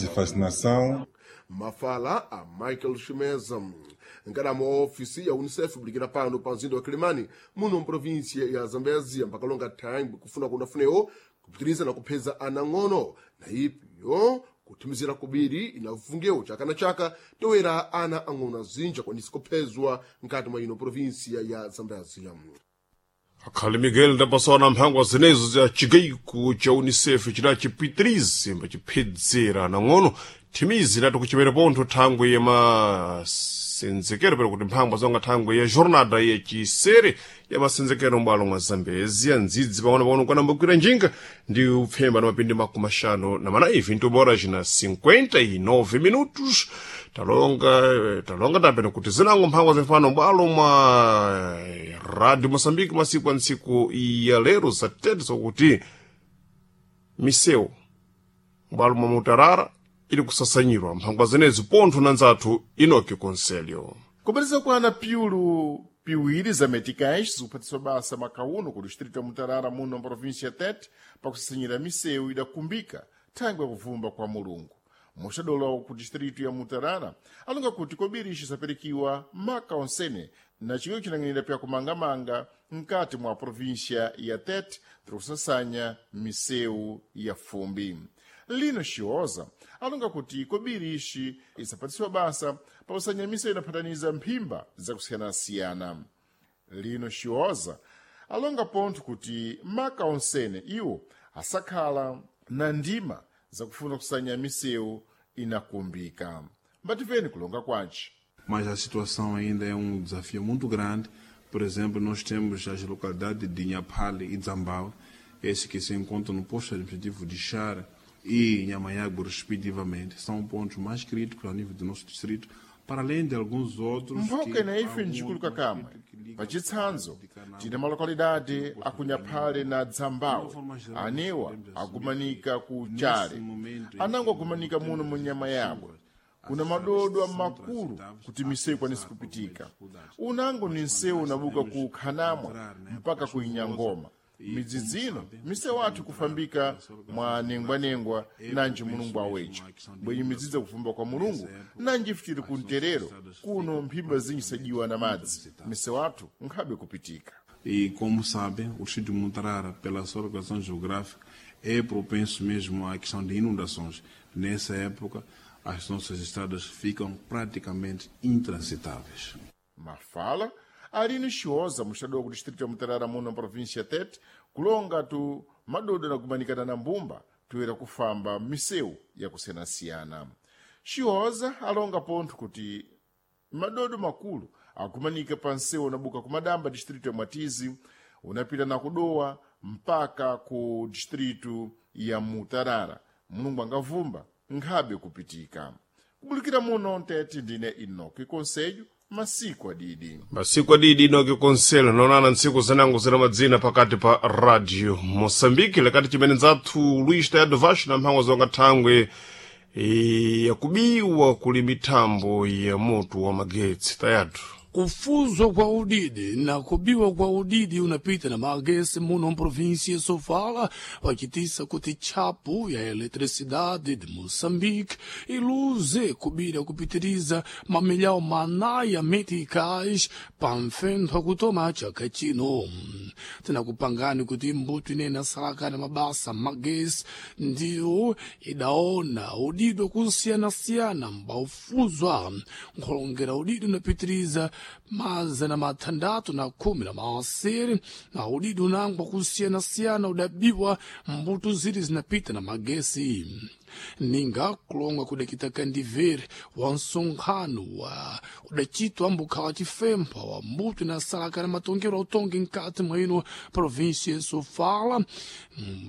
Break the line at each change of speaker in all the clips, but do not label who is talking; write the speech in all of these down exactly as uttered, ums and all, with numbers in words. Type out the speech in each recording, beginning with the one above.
de vacinação.
Mafala a Michael Chimeza, nkadamo wa ofisi ya UNICEF bulikira pano pa mzinda wa Kilimani muno mprovinsia ya Zambezia, mpakalonga thangwi kufuna kunafunewo kupitiriza na kupheza anang'ono na ipiyo kuthimizira kubiri inafungewo chaka na chaka toera ana ang'ono azinja kwanisa kuphezwa nkati mwa ino provinsia ya Zambezia.
Akhali Miguel ndapasana mphangwa zinezo za chigaiko cha UNICEF chidachipitirize mbachiphedzera nang'ono thimizi lati kuchimere pontho thangwe ya masenzekero pero kuti mphangwa zonga thangwe ya jornada ya chisere ya masenzekero m'bwalo mwa Zambezia ndzidzi pang'ono-pang'ono kwanambogwira njinga ndi upfemba na mapindi makumi axano na mana ivi ntubora cina cinquenta e nove minutos. Talonga talonga tapena kuti zinango mphangwa zimfano m'bwalo mwa Radio Moçambique masiku a ntsiku ya lero zatete zokuti misewu m'bwalo mwa Mutarara ili kusasanyirwa mphangwa zenezi pontho na nzathu Inoki Conselho.
Kupatiza kwana piulu piwiri za meticais zikuphatiswa basa makauno ku distrito ya Mutarara muno mprovinsia ya Tete pakusasanyira misewu idakumbika thangwe yakuvumba kwa Mulungu. Muxadolo ku distrito ya Mutarara alonga kuti kobiri ixi sapirikiwa maka onsene na chikiwo chinang'anira pya kumangamanga mkati mwa província ya Tete tiri kusasanya misewu ya fumbi. Lino Xioza alonga kuti kobiri ixi isapatisiwa basa pakusanya misewu inaphataniza mphimba zakusiyanasiyana. Lino Xioza alonga pontho kuti maka onsene iwo asakhala na ndima zakufuna kusanya misewu inakumbika. Mbativeni kulonga kwace.
Mas a situação ainda é um desafio muito grande. Por exemplo, nós temos as localidades de Inhapale e Zambau, esses que se encontram no posto administrativo de Chara e Inhamanhago, respectivamente, são pontos mais críticos ao nível do nosso distrito, para além de alguns outros.
Mphoka na ife ncikuluka kamwe. Pachitsanzo, tine malokalidade akunyaphale na Dzambawe, anewa akumanika ku Chale, anango akumanika muno mu nyama yabwe. Kuna madodo makulu kuti misewu ikwanise kupitika. Unango ni msewu unabuka ku Khanamwa mpaka ku Inyangoma. Midzi zino misewu athu kufambika mwa nengwanengwa nanji Mulungu awecha bwenye midzidzi kufumba kwa Mulungu nanji futiri ku mterero kuno mphimba zinji sajiwa na madzi misewu athu nkhabe kupitika.
E como sabem, o distrito de Mutarara, pela sua localização geográfica, é propenso mesmo à questão de inundações. Nessa época, as nossas estradas ficam praticamente intransitáveis.
Mafala Aline Xioza, mostrador do distrito de Mutarara muno na província ya Tete, kulonga tu madodo na kumanikana na mbumba toera kufamba misewu yakusiyanasiyana. Xioza alonga pontho kuti madodo makulu akumanika pa msewu unabuka kumadamba distrito ya Mwatizi unapita na kudowa mpaka ku distrito ya Mutarara. Mulungu angavumba nkhabe kupitika. Kubulikira muno Ntete, ndine Inoki Conselho, masiku adidi.
Masiku adidi Inoki Conselho naonana ntsiku zinango zina madzina pakati pa Radio Moçambique lekati chimene nzathu Luís Tayado Vasco na mphangwa zonga thangwe e, yakubiwa kuli mithambo ya moto wa magetsi. Tayado.
Kufuzwa kwa udidi na kubiwa kwa udidi unapita na magesi muno mprovinsia Sofala wachitisa kuti chapu ya eletricidade de Moçambique iluze kubira kupitiriza mamilhão manaya meticais pamfentho kutoma chaka chino. Tinakupangani kuti mbuto inene asalakana mabasa magesi ndiyo idaona udidi wakusiyanasiyana mbaufuzwa nkhulongera udidi unapitiriza mazana mathandatu na khumi na maasiri na udidi unangwa kusiyanasiyana udabiwa mbuto ziri zinapita na magesi. Ninga kulonga kudakita kandivere wa nsonkhano wa udachitwa mbukhala chifempha wa mbuto inasalaka na matongero autongi mkati mwa ino província Sofala,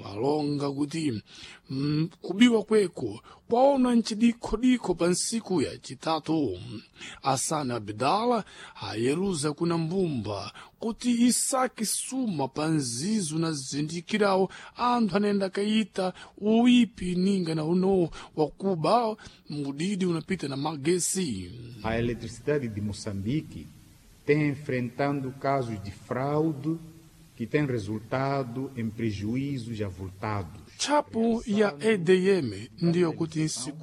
alonga kuti mm, kubiwa kweko kwaona nchidikhodikho pa nsiku ya chitatu. Asana Abdala ayeluza kuna mbumba kuti isake suma pa nzizo na zindikirawo anthu anayenda kayita uipi ninga na uno wakuba mudidi unapita na magesi.
A Eletricidade de Moçambique tem enfrentando casos de fraude que têm resultado em prejuízos avultados.
Chapu ya E D M ndiyo kuti nsiku